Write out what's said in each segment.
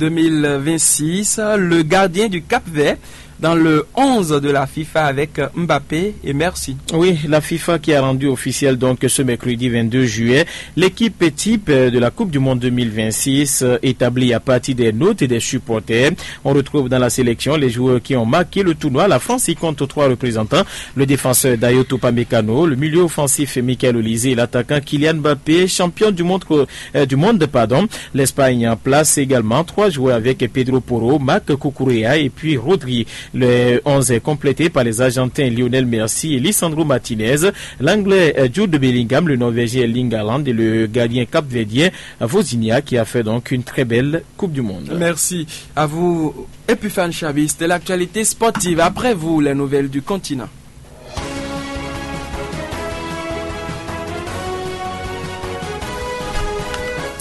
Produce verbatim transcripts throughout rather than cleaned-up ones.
deux mille vingt-six, le gardien du Cap-Vert dans le onze de la FIFA avec Mbappé et Messi. Oui, la FIFA qui a rendu officiel donc ce mercredi vingt-deux juillet l'équipe type de la Coupe du Monde deux mille vingt-six, euh, établie à partir des notes et des supporters. On retrouve dans la sélection les joueurs qui ont marqué le tournoi. La France y compte trois représentants, le défenseur Dayot Upamecano, le milieu offensif Michael Olise et l'attaquant Kylian Mbappé, champion du monde, euh, du monde, pardon. L'Espagne place également trois joueurs avec Pedro Porro, Marc Cucurella et puis Rodri. Le onze est complété par les Argentins Lionel Messi et Lisandro Martinez, l'Anglais, euh, Jude Bellingham, le Norvégien Erling Haaland et le gardien capverdien Vozinha, qui a fait donc une très belle Coupe du Monde. Merci à vous, Epiphan Chavis. C'était l'actualité sportive. Après vous, les nouvelles du continent.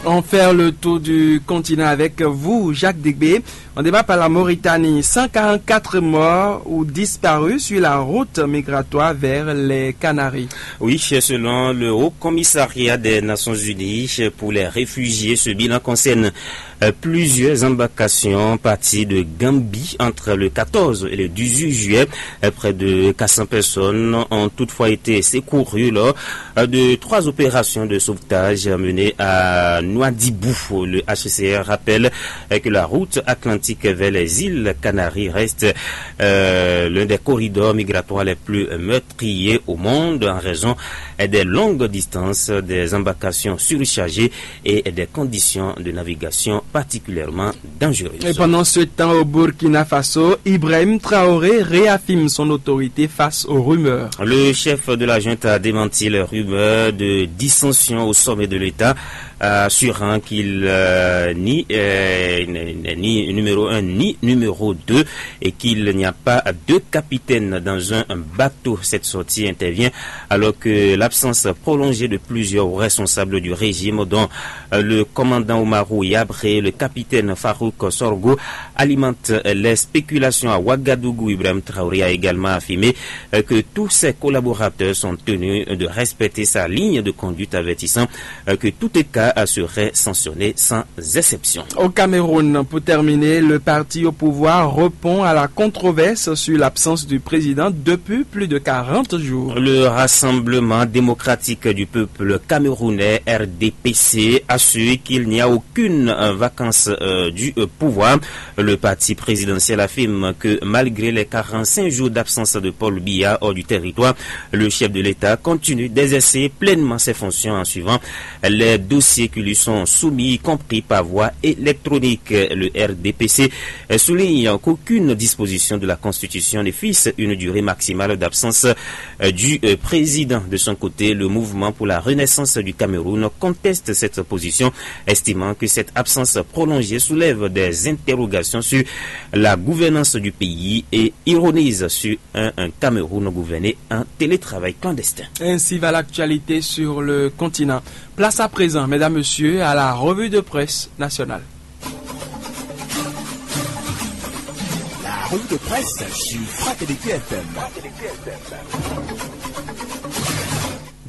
On fait le tour du continent avec vous, Jacques Degbé. On démarre par la Mauritanie. Cent quarante-quatre morts ou disparus sur la route migratoire vers les Canaries. Oui, c'est selon le Haut Commissariat des Nations Unies pour les réfugiés. Ce bilan concerne, euh, plusieurs embarcations parties de Gambie entre le quatorze et le dix-huit juillet. Euh, près de quatre cents personnes ont toutefois été secourues lors, euh, de trois opérations de sauvetage menées à Nouadhibou. Le H C R rappelle, euh, que la route atlantique vers les îles Canaries reste, euh, l'un des corridors migratoires les plus meurtriers au monde en raison, euh, des longues distances, des embarcations surchargées et des conditions de navigation particulièrement dangereuses. Et pendant ce temps, au Burkina Faso, Ibrahim Traoré réaffirme son autorité face aux rumeurs. Le chef de la junte a démenti les rumeurs de dissension au sommet de l'État, assurant qu'il, euh, ni, euh, n'est ni numéro un ni numéro deux et qu'il n'y a pas deux capitaines dans un bateau. Cette sortie intervient alors que l'absence prolongée de plusieurs responsables du régime, dont, euh, le commandant Oumarou Yabré, le capitaine Farouk Sorgo, alimente les spéculations à Ouagadougou. Ibrahim Traoré a également affirmé, euh, que tous ses collaborateurs sont tenus de respecter sa ligne de conduite, avertissant, euh, que tout écart, euh, serait sanctionné sans exception. Au Cameroun, pour terminer, le parti au pouvoir répond à la controverse sur l'absence du président depuis plus de quarante jours. Le Rassemblement démocratique du peuple camerounais, R D P C, assure qu'il n'y a aucune, euh, vacance, euh, du, euh, pouvoir. Le parti présidentiel affirme que malgré les quarante-cinq jours d'absence de Paul Biya hors du territoire, le chef de l'État continue d'exercer pleinement ses fonctions en suivant les dossiers qui lui sont soumis, y compris par voie électronique. Le R D P C souligne qu'aucune disposition de la Constitution ne fixe une durée maximale d'absence, euh, du, euh, président. De son côté, le Mouvement pour la Renaissance du Cameroun conteste cette position, estimant que cette absence prolongée soulève des interrogations sur la gouvernance du pays et ironise sur un, un Cameroun gouverné en télétravail clandestin. Ainsi va l'actualité sur le continent. Place à présent, mesdames, messieurs, à la revue de presse nationale. La revue de presse sur Fraternité F M.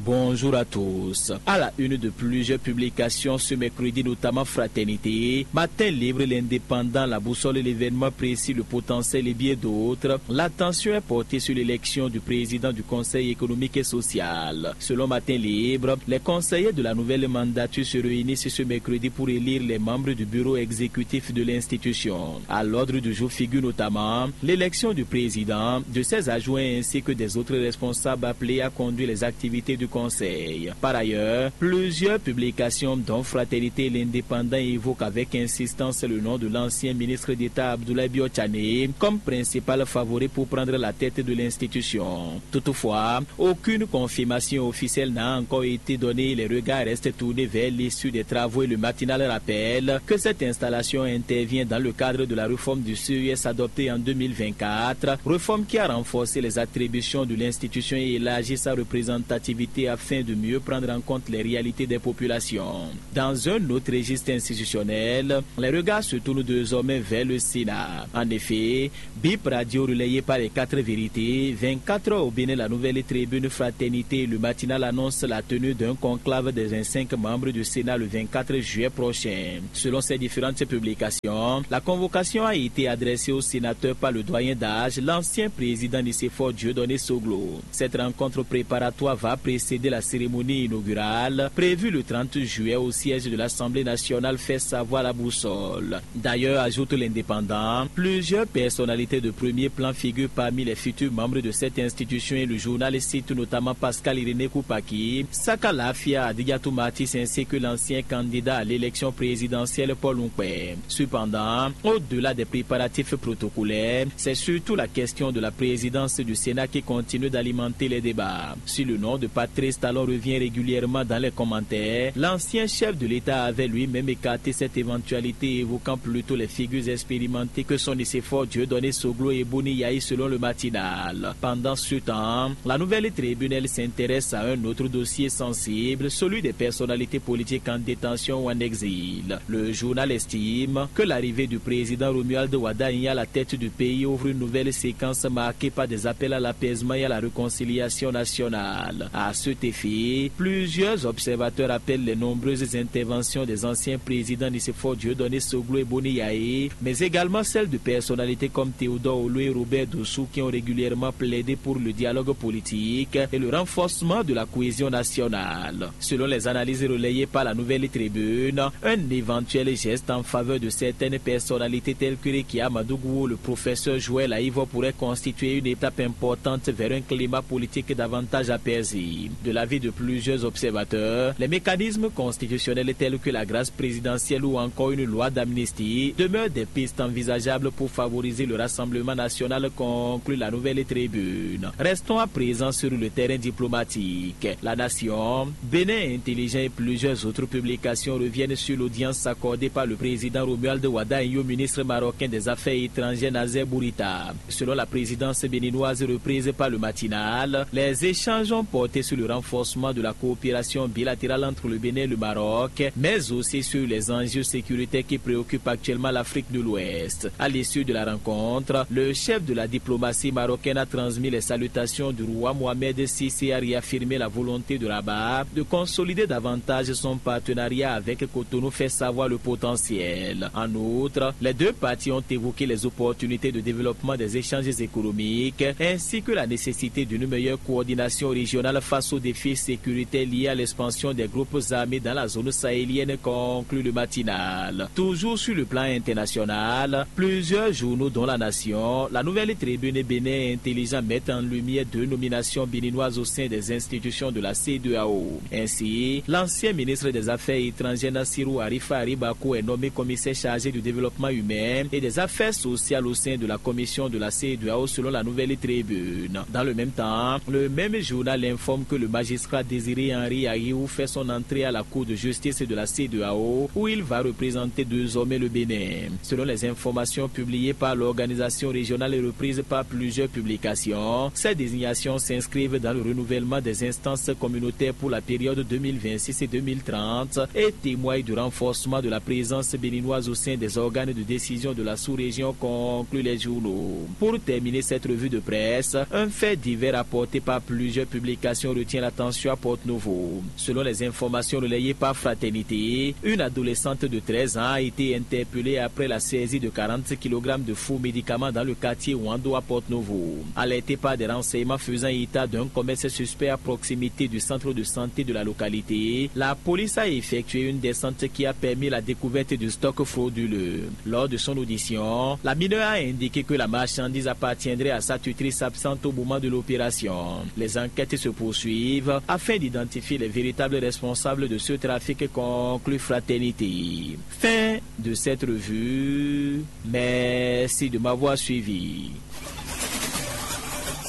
Bonjour à tous. À la une de plusieurs publications ce mercredi, notamment Fraternité, Matin Libre, L'Indépendant, La Boussole, L'événement précis, Le Potentiel et bien d'autres, l'attention est portée sur l'élection du président du Conseil économique et social. Selon Matin Libre, les conseillers de la nouvelle mandature se réunissent ce mercredi pour élire les membres du bureau exécutif de l'institution. À l'ordre du jour figure notamment l'élection du président, de ses adjoints ainsi que des autres responsables appelés à conduire les activités du conseil. Par ailleurs, plusieurs publications dont Fraternité et l'Indépendant évoquent avec insistance le nom de l'ancien ministre d'État Abdoulaye Biotchané comme principal favori pour prendre la tête de l'institution. Toutefois, aucune confirmation officielle n'a encore été donnée. Les regards restent tournés vers l'issue des travaux et le Matinal rappelle que cette installation intervient dans le cadre de la réforme du C E S adoptée en deux mille vingt-quatre, réforme qui a renforcé les attributions de l'institution et élargi sa représentativité afin de mieux prendre en compte les réalités des populations. Dans un autre registre institutionnel, les regards se tournent désormais vers le Sénat. En effet, Bip Radio relayé par les quatre vérités, vingt-quatre heures au Bénin, la nouvelle tribune Fraternité, le matinal annonce la tenue d'un conclave des vingt-cinq membres du Sénat le vingt-quatre juillet prochain. Selon ces différentes publications, la convocation a été adressée au sénateur par le doyen d'âge, l'ancien président Nicéphore Dieudonné Soglo. Cette rencontre préparatoire va précéder la cérémonie inaugurale prévue le trente juillet au siège de l'Assemblée nationale, fait savoir la boussole. D'ailleurs, ajoute l'indépendant, plusieurs personnalités de premier plan figurent parmi les futurs membres de cette institution et le journal cite notamment Pascal Irénée Koupaki, Saka Lafia, Adidiatou Martis ainsi que l'ancien candidat à l'élection présidentielle Paul Onkpé. Cependant, au-delà des préparatifs protocolaires, c'est surtout la question de la présidence du Sénat qui continue d'alimenter les débats. Si le nom de Patrice Talon revient régulièrement dans les commentaires, l'ancien chef de l'État avait lui-même écarté cette éventualité, évoquant plutôt les figures expérimentées que sont Nicéphore Dieudonné Soglo et Boni Yayi selon le matinal. Pendant ce temps, la nouvelle tribune, elle, s'intéresse à un autre dossier sensible, celui des personnalités politiques en détention ou en exil. Le journal estime que l'arrivée du président Romuald Wadagni à la tête du pays ouvre une nouvelle séquence marquée par des appels à l'apaisement et à la réconciliation nationale. À cet effet, plusieurs observateurs appellent les nombreuses interventions des anciens présidents Nicéphore Dieudonné Soglo et Boni Yayi, mais également celles de personnalités comme Théodore Olo et Robert Dossou qui ont régulièrement plaidé pour le dialogue politique et le renforcement de la cohésion nationale. Selon les analyses relayées par la Nouvelle Tribune, un éventuel geste en faveur de certaines personnalités telles que Rekia Madougou ou le professeur Joël Aïvo pourrait constituer une étape importante vers un climat politique davantage apaisé. De l'avis de plusieurs observateurs, les mécanismes constitutionnels tels que la grâce présidentielle ou encore une loi d'amnistie demeurent des pistes envisageables pour favoriser le rassemblement national, conclut la Nouvelle Tribune. Restons à présent sur le terrain diplomatique. La Nation, Bénin Intelligent et plusieurs autres publications reviennent sur l'audience accordée par le président Romuald Wadagni au ministre marocain des Affaires étrangères Nazer Bourita. Selon la présidence béninoise reprise par le Matinal, les échanges ont porté sur le renforcement de la coopération bilatérale entre le Bénin et le Maroc, mais aussi sur les enjeux sécuritaires qui préoccupent actuellement l'Afrique de l'Ouest. À l'issue de la rencontre, le chef de la diplomatie marocaine a transmis les salutations du roi Mohamed six et a réaffirmé la volonté de Rabat de consolider davantage son partenariat avec Cotonou, fait savoir le potentiel. En outre, les deux parties ont évoqué les opportunités de développement des échanges économiques ainsi que la nécessité d'une meilleure coordination régionale face aux défis sécuritaires liés à l'expansion des groupes armés dans la zone sahélienne, conclut le Matinal. Toujours sur le plan international, plusieurs journaux dont La Nation, La Nouvelle Tribune et Bénin Intelligent mettent en lumière deux nominations béninoises au sein des institutions de la C deux A O. Ainsi, l'ancien ministre des Affaires étrangères Nassirou Arifa Aribako est nommé commissaire chargé du développement humain et des affaires sociales au sein de la commission de la C deux A O selon La Nouvelle Tribune. Dans le même temps, le même journal informe que le magistrat Désiré Henri Ahiou fait son entrée à la Cour de justice de la C deux A O où il va représenter désormais le Bénin. Selon les informations publiées par l'organisation régionale et reprises par plusieurs publications, ces désignations s'inscrivent dans le renouvellement des instances communautaires pour la période deux mille vingt-six et deux mille trente et témoignent du renforcement de la présence béninoise au sein des organes de décision de la sous-région, conclut les journaux. Pour terminer cette revue de presse, un fait divers apporté par plusieurs publications retient l'attention à Porte-Nouveau. Selon les informations relayées par Fraternité, une adolescente de treize ans a été interpellée après la saisie de quarante kilogrammes de faux médicaments dans le quartier Wando à Porte-Nouveau. Alertée par des renseignements faisant état d'un commerce suspect à proximité du centre de santé de la localité, la police a effectué une descente qui a permis la découverte du stock frauduleux. Lors de son audition, la mineure a indiqué que la marchandise appartiendrait à sa tutrice absente au moment de l'opération. Les enquêtes se poursuivent afin d'identifier les véritables responsables de ce trafic, conclut Fraternité. Fin de cette revue. Merci de m'avoir suivi.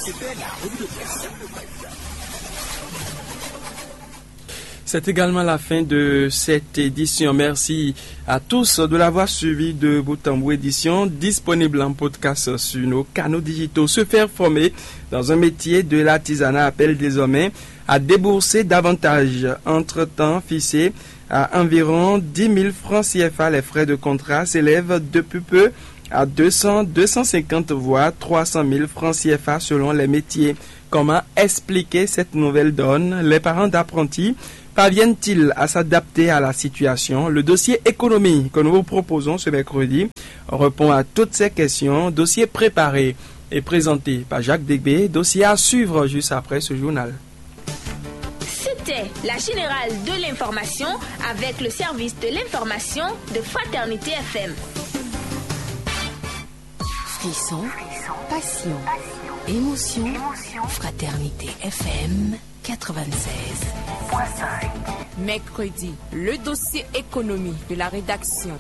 C'était la revue de presse. C'est également la fin de cette édition. Merci à tous de l'avoir suivi de bout en bout. Édition disponible en podcast sur nos canaux digitaux. Se faire former dans un métier de l'artisanat appelle désormais à débourser davantage. Entre-temps, fixés à environ dix mille francs C F A, les frais de contrat s'élèvent depuis peu à deux cents, deux cent cinquante voire trois cent mille francs C F A selon les métiers. Comment expliquer cette nouvelle donne? Les parents d'apprentis parviennent-ils à s'adapter à la situation? Le dossier économie que nous vous proposons ce mercredi répond à toutes ces questions. Dossier préparé et présenté par Jacques Degbé. Dossier à suivre juste après ce journal. C'était la générale de l'information avec le service de l'information de Fraternité F M. Frisson, passion, émotion. Fraternité F M quatre-vingt-seize. Mercredi, le dossier économie de la rédaction.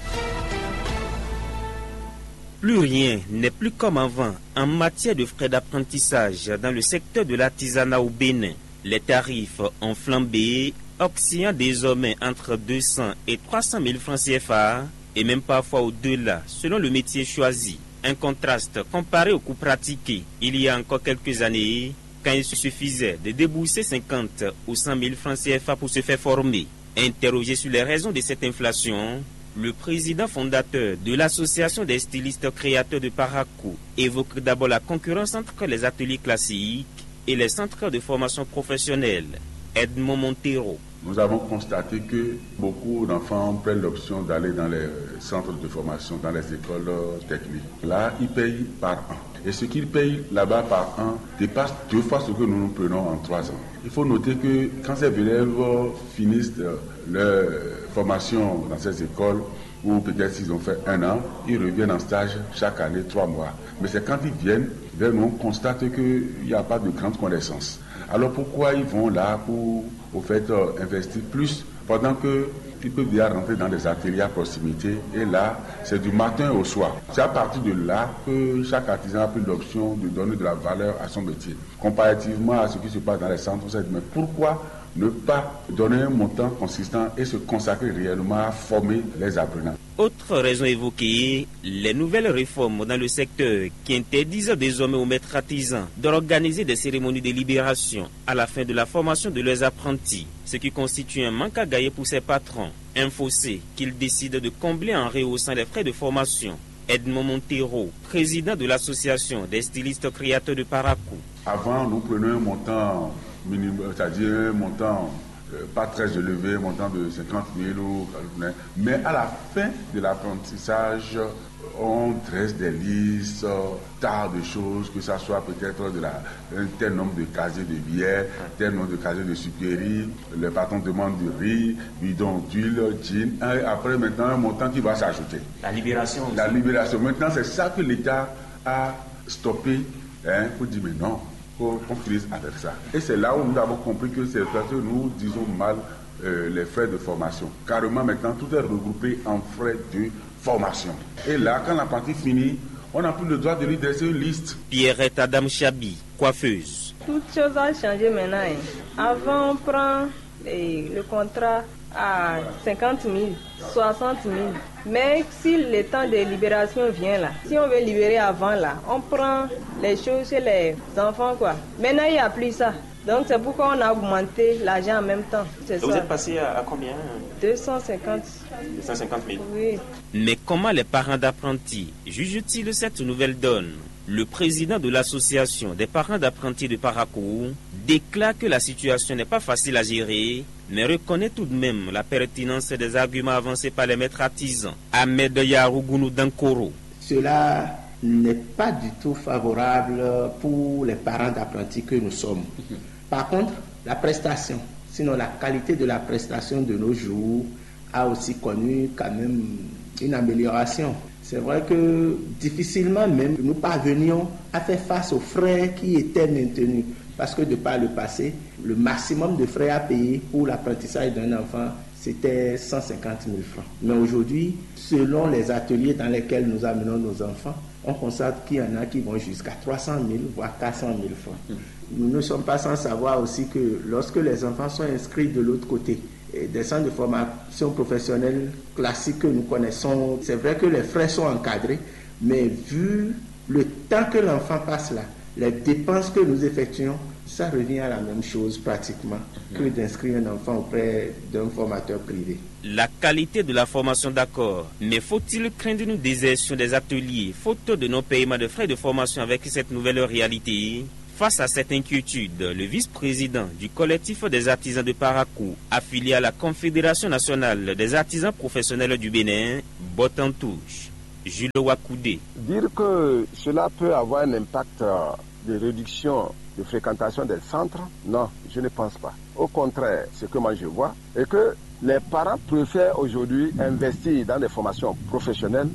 Plus rien n'est plus comme avant en matière de frais d'apprentissage dans le secteur de l'artisanat au Bénin. Les tarifs ont flambé, oscillant désormais entre deux cents et trois cent mille francs C F A, et même parfois au-delà, selon le métier choisi. Un contraste comparé au coût pratiqué il y a encore quelques années, quand il suffisait de débourser cinquante ou cent mille francs C F A pour se faire former. Interrogé sur les raisons de cette inflation, le président fondateur de l'association des stylistes créateurs de Parakou évoque d'abord la concurrence entre les ateliers classiques et les centres de formation professionnelle. Edmond Montero. Nous avons constaté que beaucoup d'enfants prennent l'option d'aller dans les centres de formation, dans les écoles techniques. Là, ils payent par an. Et ce qu'ils payent là-bas par an dépasse deux fois ce que nous nous prenons en trois ans. Il faut noter que quand ces élèves finissent leur formation dans ces écoles, ou peut-être s'ils ont fait un an, ils reviennent en stage chaque année, trois mois. Mais c'est quand ils viennent vers nous, on constate qu'il n'y a pas de grande connaissance. Alors pourquoi ils vont là pour, au fait, euh, investir plus pendant que ils peuvent déjà rentrer dans des ateliers à proximité et là, c'est du matin au soir. C'est à partir de là que chaque artisan a pris l'option de donner de la valeur à son métier. Comparativement à ce qui se passe dans les centres, on s'est dit, mais pourquoi ne pas donner un montant consistant et se consacrer réellement à former les apprenants? Autre raison évoquée, les nouvelles réformes dans le secteur qui interdisent désormais aux maîtres artisans d'organiser des cérémonies de libération à la fin de la formation de leurs apprentis, ce qui constitue un manque à gagner pour ces patrons, un fossé qu'ils décident de combler en rehaussant les frais de formation. Edmond Montero, président de l'association des stylistes créateurs de Parakou. Avant, nous prenions un montant minimum, c'est-à-dire un montant, euh, pas très élevé, un montant de cinquante mille ou, mais à la fin de l'apprentissage, on dresse des listes, tas de choses, que ça soit peut-être de la, un tel nombre de casiers de billets, tel nombre de casiers de sucreries, le patron demande du riz, bidon d'huile, jean, et après maintenant un montant qui va s'ajouter. La libération aussi. La libération. Maintenant, c'est ça que l'État a stoppé, hein, pour dire, mais non, qu'on finisse avec ça. Et c'est là où nous avons compris que c'est parce que nous disons mal, euh, les frais de formation. Carrément, maintenant, tout est regroupé en frais de formation. Et là, quand la partie finit, on n'a plus le droit de lui dresser une liste. Pierrette Adam Chabi, coiffeuse. Toute chose a changé maintenant, hein. Avant, on prend, eh, le contrat à cinquante mille, soixante mille. Mais si le temps de libération vient là, si on veut libérer avant là, on prend les choses chez les enfants, quoi. Maintenant, il n'y a plus ça. Donc c'est pourquoi on a augmenté l'argent en même temps. C'est ça. Et vous êtes passé à, à combien? Deux cent cinquante. Deux cent cinquante mille. Oui. Mais comment les parents d'apprentis jugent-ils cette nouvelle donne? Le président de l'association des parents d'apprentis de Parakou déclare que la situation n'est pas facile à gérer, mais reconnaît tout de même la pertinence des arguments avancés par les maîtres artisans. Ahmed Yarougunou Dankoro. Cela n'est pas du tout favorable pour les parents d'apprentis que nous sommes. Par contre, la prestation, sinon la qualité de la prestation de nos jours, a aussi connu quand même une amélioration. C'est vrai que difficilement même nous parvenions à faire face aux frais qui étaient maintenus, parce que de par le passé, le maximum de frais à payer pour l'apprentissage d'un enfant, c'était cent cinquante mille francs. Mais aujourd'hui, selon les ateliers dans lesquels nous amenons nos enfants, on constate qu'il y en a qui vont jusqu'à trois cent mille, voire quatre cent mille francs. Nous ne sommes pas sans savoir aussi que lorsque les enfants sont inscrits de l'autre côté, et des centres de formation professionnelle classiques que nous connaissons, c'est vrai que les frais sont encadrés, mais vu le temps que l'enfant passe là, les dépenses que nous effectuons Ça revient à la même chose pratiquement que d'inscrire un enfant auprès d'un formateur privé. La qualité de la formation, d'accord, mais faut-il craindre une désertion des ateliers faute de non-paiement de frais de formation avec cette nouvelle réalité? Face à cette inquiétude, le vice-président du collectif des artisans de Parakou, affilié à la Confédération nationale des artisans professionnels du Bénin, botte en touche. Jules Wakoudé. Dire que cela peut avoir un impact, euh, de réduction de fréquentation des centres, non, je ne pense pas. Au contraire, ce que moi je vois, c'est que les parents préfèrent aujourd'hui investir dans des formations professionnelles,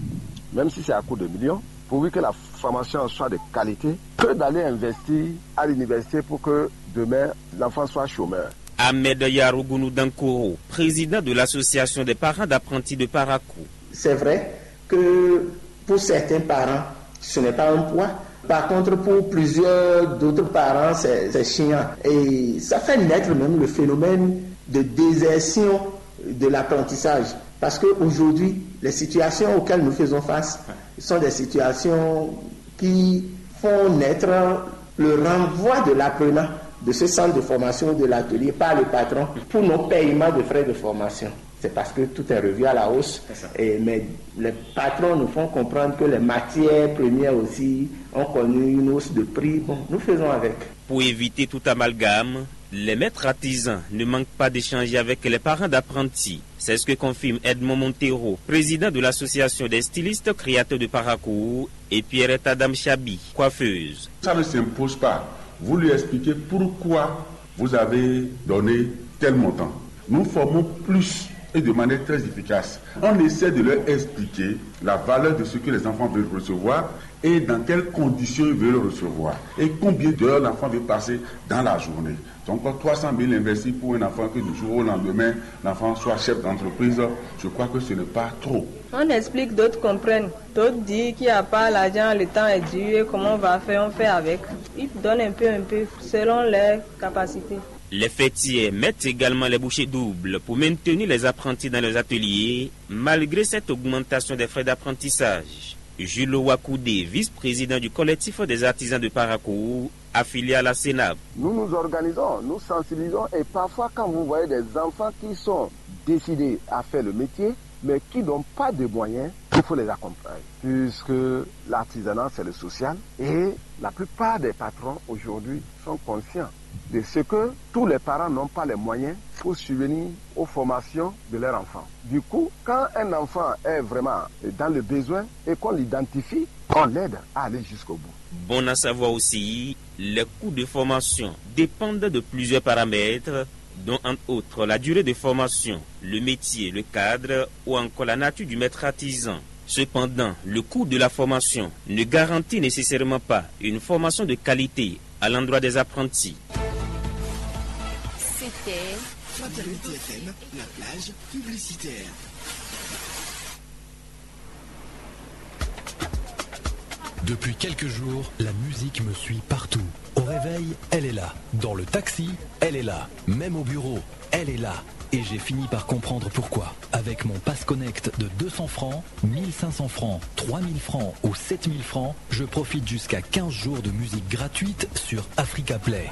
même si c'est à coût de millions, pourvu que la formation soit de qualité, que d'aller investir à l'université pour que demain l'enfant soit chômeur. Ahmed Yarougounou Dankoro, président de l'association des parents d'apprentis de Parakou. C'est vrai que pour certains parents, ce n'est pas un poids. Par contre, pour plusieurs d'autres parents, c'est chiant. Et ça fait naître même le phénomène de désertion de l'apprentissage. Parce qu'aujourd'hui, les situations auxquelles nous faisons face sont des situations qui font naître le renvoi de l'apprenant de ce centre de formation ou de l'atelier par le patron pour non-paiement de frais de formation. C'est parce que tout est revu à la hausse, mais les patrons nous font comprendre que les matières premières aussi ont connu une hausse de prix. Bon, nous faisons avec. Pour éviter tout amalgame, les maîtres artisans ne manquent pas d'échanger avec les parents d'apprentis. C'est ce que confirme Edmond Montero, président de l'association des stylistes créateurs de Parakou, et Pierrette Adam Chabi, coiffeuse. Ça ne s'impose pas. Vous lui expliquez pourquoi vous avez donné tel montant. Nous formons plus et de manière très efficace. On essaie de leur expliquer la valeur de ce que les enfants veulent recevoir et dans quelles conditions ils veulent recevoir et combien d'heures l'enfant veut passer dans la journée. Donc trois cent mille investis pour un enfant que du jour au lendemain, l'enfant soit chef d'entreprise, je crois que ce n'est pas trop. On explique, d'autres comprennent. D'autres disent qu'il n'y a pas l'argent, le temps est dur et comment on va faire, on fait avec. Ils donnent un peu, un peu, selon leurs capacités. Les fêtiers mettent également les bouchées doubles pour maintenir les apprentis dans leurs ateliers, malgré cette augmentation des frais d'apprentissage. Jules Wakoudé, vice-président du collectif des artisans de Parakou, affilié à la CENAB. Nous nous organisons, nous sensibilisons et parfois quand vous voyez des enfants qui sont décidés à faire le métier, mais qui n'ont pas de moyens, il faut les accompagner. Puisque l'artisanat, c'est le social et la plupart des patrons aujourd'hui sont conscients de ce que tous les parents n'ont pas les moyens pour subvenir aux formations de leurs enfants. Du coup, quand un enfant est vraiment dans le besoin et qu'on l'identifie, on l'aide à aller jusqu'au bout. Bon à savoir aussi, les coûts de formation dépendent de plusieurs paramètres, dont entre autres la durée de formation, le métier, le cadre ou encore la nature du maître artisan. Cependant, le coût de la formation ne garantit nécessairement pas une formation de qualité à l'endroit des apprentis. C'était Fraternité F M, la plage publicitaire. Depuis quelques jours, la musique me suit partout. Au réveil, elle est là. Dans le taxi, elle est là. Même au bureau, elle est là. Et j'ai fini par comprendre pourquoi. Avec mon Pass Connect de deux cents francs, mille cinq cents francs, trois mille francs ou sept mille francs, je profite jusqu'à quinze jours de musique gratuite sur Africa Play.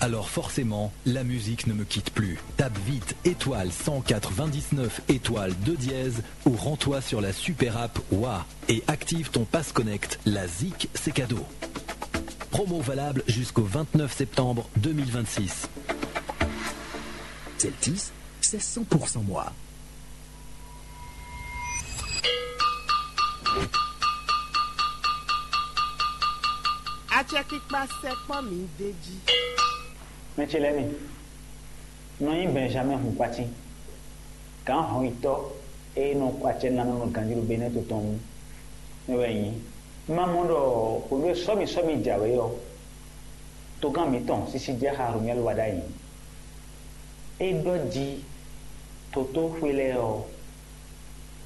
Alors forcément, la musique ne me quitte plus. Tape vite étoile cent quatre-vingt-dix-neuf étoile deux dièse ou rends-toi sur la super app Wa et active ton Pass Connect. La zik, c'est cadeau. Promo valable jusqu'au vingt-neuf septembre deux mille vingt-six. Celtis, c'est cent pour cent moi. Acɛkpikpa sɛkpɔ́ mi d'é jí. Mɛ ce lɛ́ɛ mi, un nɔ nyí Benjamin Hunkwati, gǎn hɔnyitɔ́ e nɔ kɔ acɛ nú nɔ ganjí ɖo Benɛ́ɛ to tɔn wú. É wɛ nyí. Un ma mɔ ɖɔ hwenu e sɔ́mi sɔ́mi jɛ awě ɔ́, togán mǐtɔn Sisijɛ́ xa Romɛli wá ɖ'ayǐ. É ɖɔ jí totóxwé lɛ́ɛ ɔ́,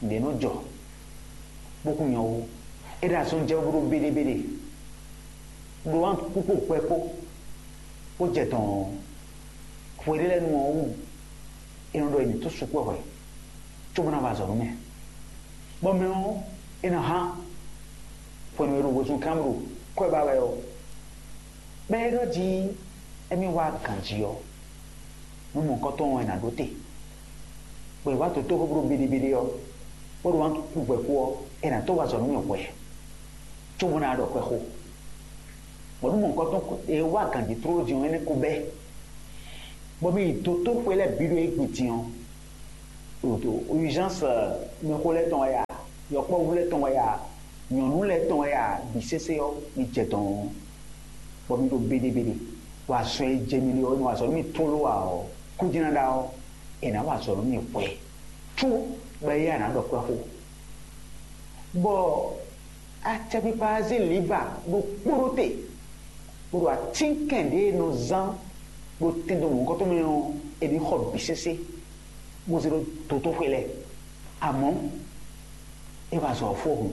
nǔɖé nɔ jɔ, bó kún nyɔ́ wú. É ɖo azɔn jɛ wú bó ɖó béɖébéɖé, ɖó wǎn kpókpó hwɛ kpó, bó jɛ dɔ̌n ɔ́, hwe ɖé lɛ́ɛ nu ɔ́ wú, é nɔ ɖɔ è nǐ tó sukpɔ́ hwɛ, cóbó ná wa azɔ̌ nú mɛ. Bɔ mɛ ɔ́, é nɔ hán hwenu e ɖo wezun kán bó ɖo kwɛ́ ba wɛ ɔ́, Bɔ é ɖɔ jí émí wá ganjí ɔ́, nú mɔ̌hunkɔtɔn ɔ́, è nǎ ɖó te. Bɔ è wá dotóxwé bó ɖo béɖébeɖé ɔ́, bó ɖo wá kú gbɛkú ɔ́, è nǎ tɔ́ wá zɔ nú mì hwɛ, cóbó ná ɖɔ xwɛxó. Bɔ nú mɔ̌hunkɔtɔn è wá ganjí tlóló din ɔ́, énɛ́ ko bɛ́. Bɔ mì yi dotóxwé lɛ́ɛ bǐ ɖo égbé din ɔ́, ɖo urgence, mɛxó lɛ́ɛ tɔn wɛ ya, yɔkpɔ́vú lɛ́ɛ tɔn wɛ ya, nyɔ̌nu lɛ́ɛ tɔn wɛ ya, bǐ sésé ɔ́, mi jɛ dɔ̌n ɔ́, bɔ mi ɖo béɖébeɖé, bɔ azɔn e jɛ mi ɖe ɔ́, nɔ azɔ̌ nú mi tlóló ǎ ɔ́, kúdínáɖá ɔ́, è nǎ wa azɔ̌ nú mi hwɛ, cóbɔ éyɛ́ a nǎ ɖɔ kpɛ́ xó. Bɔ acɛkpikpa ɔ́ zé liva ɖokpó ɖó te, bó ɖo atínkɛn ɖě e nɔ zán ɖo tɛndo mɔ̌hunkɔtɔn mɛ ɔ́, è nǐ xɔ bǐ sésé, bó zé ɖó dotóxwé lɛ́ɛ. Amɔ̌, é wá zɔ fó hǔn,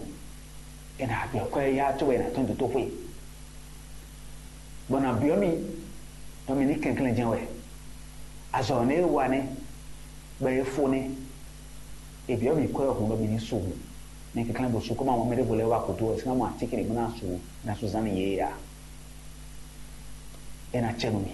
è nǎ byɔ́ kwɛ́ yá cóbɔ è nǎ tɔ́n dotóxwé. Bɔ nǎ byɔ́ mì, bɔ mì ní kɛnklɛ́n jɛ́n wɛ. Azɔ̌ nɛ́ e wa nɛ́, bɔ é fó nɛ́. È byɔ́ mì kwɛ́ hǔn bɔ mì ní su hǔn. Mɛ kɛnklɛ́n bó su kó ma mɔ mɛ ɖěvo lɛ́ɛ wá gǔdo ɔ́, sín ná mɔ atínkɛn ɖě bó ná su, ná su zán n'i yě a? É ná cɛ nú mì.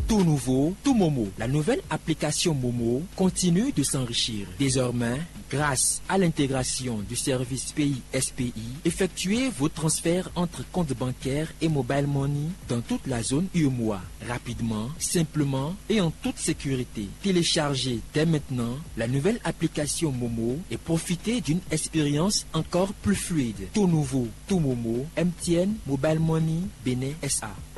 Tout nouveau, tout Momo. La nouvelle application Momo continue de s'enrichir. Désormais, grâce à l'intégration du service Pays S P I, effectuez vos transferts entre comptes bancaires et mobile money dans toute la zone U M O A, rapidement, simplement et en toute sécurité. Téléchargez dès maintenant la nouvelle application Momo et profitez d'une expérience encore plus fluide. Tout nouveau, tout Momo, M T N Mobile Money Bénin S A.